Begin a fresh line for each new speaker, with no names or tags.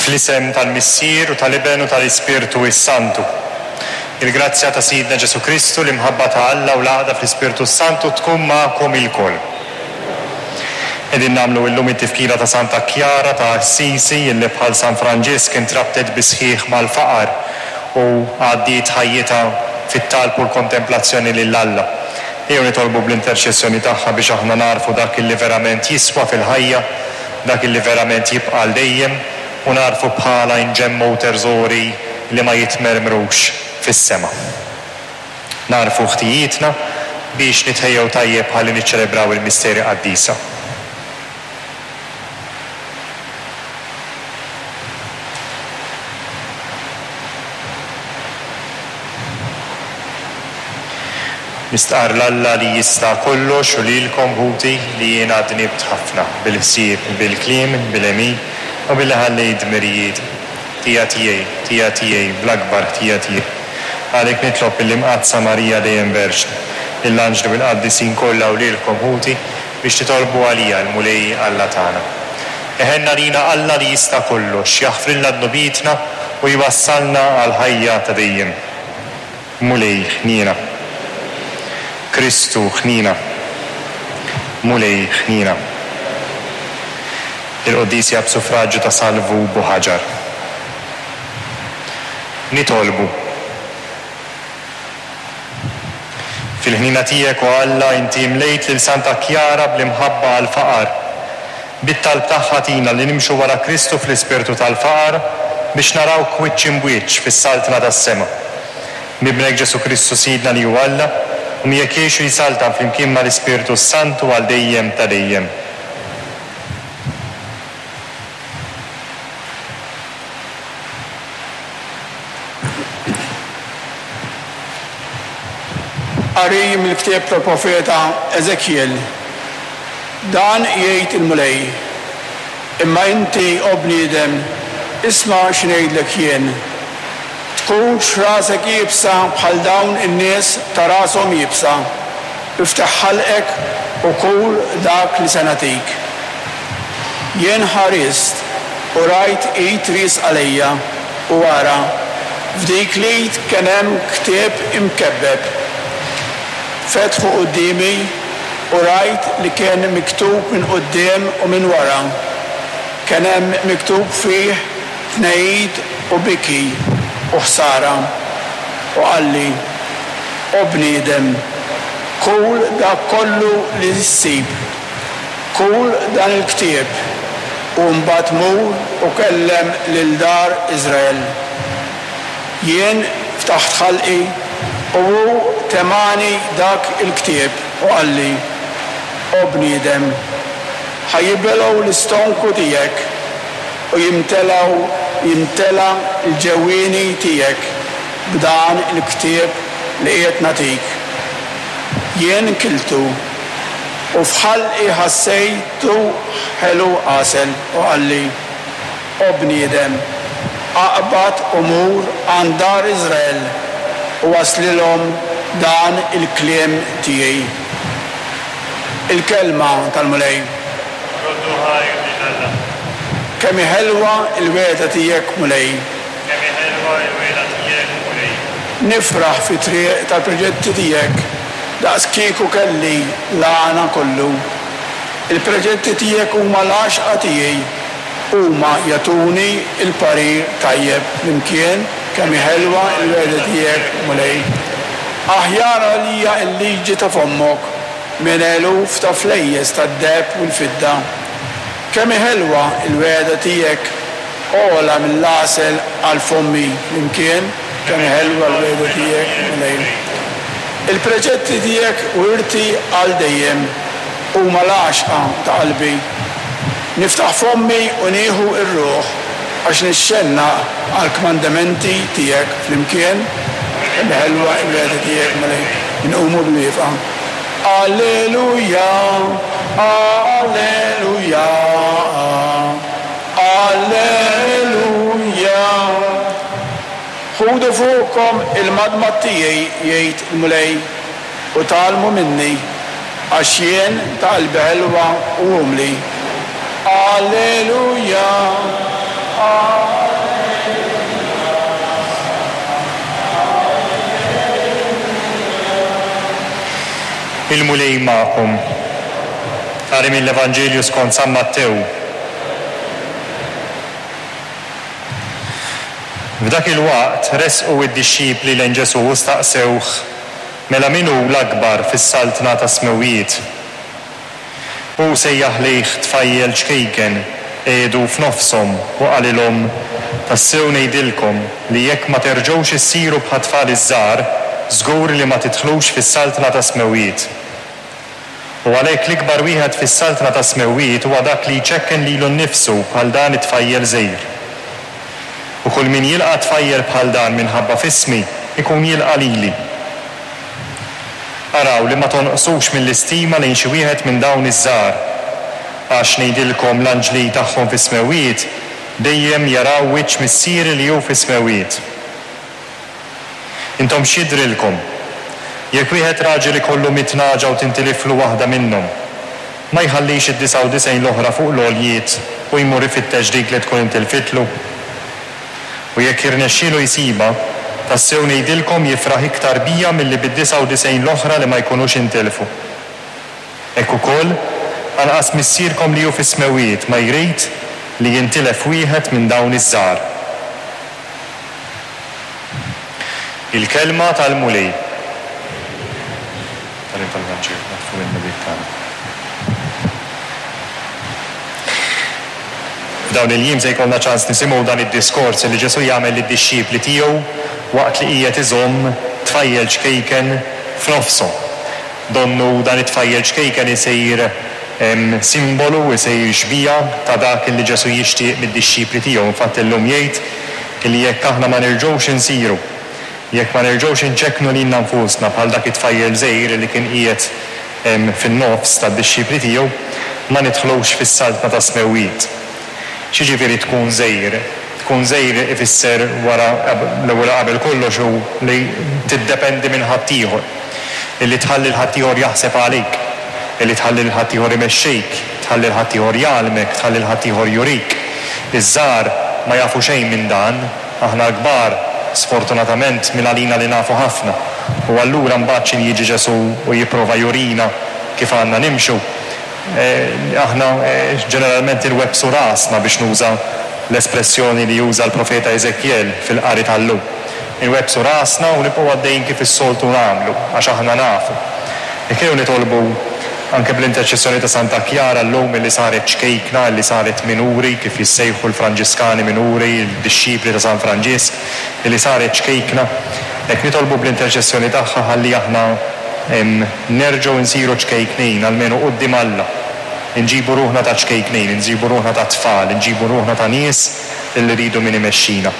Fl-isem tal-Missier u tal-Iben u tal-Ispirtu s-Santu. Il-grazzja ta' Sidna Ġesù Kristu, l-imħabba ta' Alla u l-għaqda fl-Ispirtu s-Santu tkun magħkom ilkoll. Qegħdin nagħmlu illum it-tifkira ta' Santa Kjara ta' Assisi illi bħal San Franġisk intrabtet bis-sħiħ mal-faqar u għaddiet ħajjitha fit-talb u l-kontemplazzjoni lil Alla. Ejjew nitolbu bl-interċessjoni tagħha biex aħna nagħrfu dak illi verament jiswa fil-ħajja, dak illi verament jibqa' għal dejjem, u nagħrfu bħalha inġemmgħu terżori li ma jitmermrux fis-sema. Nagħrfu ħtijietna biex nitħejjew tajjeb ħalli niċċelebraw il-misteri qaddisa. Nistqarr 'l Alla li jista' kollox u lilkom, ħuti, li jiena dnibt ħafna, bil-ħsieb, bil-kliem, bil-għemil, u billi ħallejt dmirijieti. Ħtija tiegħi, ħtija tiegħi, bl-akbar ħtija tiegħi. Għalhekk nitlob lill-Imqaddsa Marija dejjem Verġni, lill-anġli u l-qaddisin kollha u lilkom, ħuti, biex titolbu għalija l-Mulej Alla tagħna. Iħenn għalina Alla li jista' kollox, jaħfrilna dnubietna u jwassalna għall-ħajja ta' dejjem. Mulej, ħniena. Kristu, ħniena. Mulej, ħniena. Il-Quddies hija b'suffraġju ta' Salvu Buħaġar. Nitolbu. Fil-ħniena tiegħek, o Alla, inti imlejt lil Santa Kjara bl-imħabba għall-faqar. Bit-talb tagħha tgħinna li nimxu wara Kristu fl-ispirtu tal-faqar biex narawk wiċċ imb'wiċċ fis-Saltna tas-sema. B'Ibnek Ġesù Kristu Sidna li hu Alla, u miegħek jgħix u jsaltan flimkien mal-Ispirtu s-Santu għal dejjem ta' dejjem.
Qari mill-ktieb tal-profeta Eżekjel. Dan jgħid il-Mulej, Imma inti, o bniedem, isma' xi ngħidlek jien. Tkunx rasek iebsa bħal dawn in-nies ta' rashom iebsa, iftaħ ħalqek u kul dak li se nagħtik. Jien ħarist u rajt id riesqa lejja, u ara, f'dik l-id kien hemm ktieb imkebbeb. Fetħu quddiemi u rajt li kien miktub minn quddiem u minn wara. Kien hemm miktub fih tnehid u biki u ħsara. U qalli, O bniedem, kul dak kollu li ssib. Kul dan il-ktieb, u mbagħad mur u kellem lil dar Iżrael. Jien ftaħt ħalqi, u hu temagħni dak il-ktieb u qalli, O bniedem, ħa jibelgħu l-istonku tiegħek u jimtelgħu jimtela l-ġewwieni tiegħek b'dan il-ktieb li qiegħed nagħtik. Jien kiltu, u f'ħalqi ħassejtu ħelu għasel, u qalli, O bniedem, aqbad u mur għand dar Iżrael u wasslilhom dan il-kliem tiegħi. Il-kelma tal-Mulej.
Roddu ħajr lil Alla.
Kemm hi ħelwa l-wegħda tiegħek, Mulej.
Kemm hi ħelwa l-wegħda tiegħek, Mulej.
Nifraħ fit-triq tal-preġetti tiegħek, daqs kieku kelli l-għana kollu. Il-preġetti tiegħek huma l-għaxqa tiegħi, huma jagħtuni l-parir tajjeb flimkien, kemm hi ħelwa l-wegħda tiegħek, Mulej. Aħjar għalija l-liġi ta' fommok minn eluf ta' flejjes tad-deheb u l-fidda. Kemm hi ħelwa l-wegħda tiegħek, ogħla mill-għasel għal fommi, flimkien, kemm hi ħelwa l-wegħda tiegħek, Mulej. Il-preċetti tiegħek wirti għal dejjem. Huma l-għaxqa ta' qalbi. Niftaħ fommi u nieħu r-ruħ għax nixxennaq għall-kmandamenti tiegħek flimkien. Kemm hi ħelwa l-wegħda tiegħek, Mulej. Inqumu bil-wieqfa. Alleluja, alleluja, alleluja. Ħudu fuqkom il-madmad tiegħi, jgħid il-Mulej. U tgħallmu minni, għax jien ta' qalbi ħelwa u umli. Alleluja! Alleluja!
Il-Mulej magħkom. Qari mill-Evanġelju skont San Mattew. F'dak il-waqt resqu d-dixxipli lejn Ġesù u staqsewh, Mela min hu l-akbar fis-saltna tas-smewwiet? Hu sejjaħ lejh tfajjel ċkejken, qiegħdu f'nofshom u qalilhom, Tassew ngħidilkom li jekk ma terġgħux issiru bħat-tfal iż-żgħar, żgur li ma tidħlux fis-saltna tas-smewwiet. U għalhekk l-ikbar wieħed fis-saltna tas-smewwiet huwa dak li jċekken lilu nnifsu bħal dan it-tfajjel żgħir. U kull min jilqa' tfajjel bħal dan minħabba f'ismi, ikun jilqa' lili. Araw li ma tonqsux mill-istima lejn xi wieħed minn dawn iż-żgħar, għax, ngħidilkom, l-anġli tagħhom fis-smewwiet dejjem jaraw wiċċ Missieri li hu fis-smewwiet. Intom x'jidhrilkom? Jekk wieħed raġel ikollu mitt nagħġa u tintiliflu waħda minnhom, ma jħallix id-99 l-oħra fuq l-għoljiet u jmur ifittex dik li tkun intilfitlu? U jekk jirnexxielu jsibha, tassew ngħidilkom jifraħ iktar biha milli bid-99 l-oħra li ma jkunux intilfu. Hekk ukoll, anqas Missierkom li hu fis-smewwiet ma jrid li jintilef wieħed minn dawn iż-żgħar. Il-Kelma tal-Mulej. Tagħlim tal-Vanġelu naħtfu mill-Mulej tagħna. F'dawn il-jiem se jkollna ċans nisimgħu dan id-diskors li Ġesù jagħmel lid-dixxipli tiegħu waqt li qiegħed iżomm tfajjel ċkejken f'nofshom. Donnu dan it-tfajjel ċkejken isir simbolu, isir xbieha ta' dak li Ġesù jixtieq mid-dixxipli tiegħu. Infatti llum jgħid li jekk aħna ma nerġgħux insiru, jekk ma nerġgħux inċekknu lilna nfusna bħal dak it-tfajjel żgħir li kien qiegħed fin-nofs tad-dixxipli tiegħu, ma nidħlux fis-Saltna tas-Smewwiet. X'jiġifieri tkun żgħir? Tkun żgħir ifisser wara l-ewwel u qabel kollox hu li tiddependi minn ħaddieħor. Illi tħalli 'l ħaddieħor jaħseb għalik. Illi tħalli 'l ħaddieħor imexxik, tħalli 'l ħaddieħor jgħallmek, tħalli 'l ħaddieħor jurik. Iż-żgħar ma jafu xejn minn dan. Aħna l-kbar, sfortunatament, mingħalina li nafu ħafna. U allura mbagħad x'in jiġi Ġesù u jipprova jurina kif għandna nimxu, aħna ġeneralment inwebbsu rasna biex nuża l-espressjoni li juża l-profeta Eżekjel fil-qari tal-lum. Inwebbsu rasna u nibqgħu għaddejjin kif is-soltu nagħmlu, għax aħna nafu. Jekk ejjew nitolbu anke bl-interċessjoni ta' Santa Kjara llum illi saret ċkejkna, illi saret minuri, kif jissejħu l-Franġiskani minuri, il-dixxipli ta' San Franġisk, illi saret ċkejkna, hekk nitolbu bl-interċessjoni tagħha ħalli aħna nerġgħu nsiru ċkejknin, almenu quddiem Alla. Inġibu ruħna ta' ċkejknin, inġibu ruħna ta' tfal, inġibu ruħna ta' nies illi rridu min imexxina.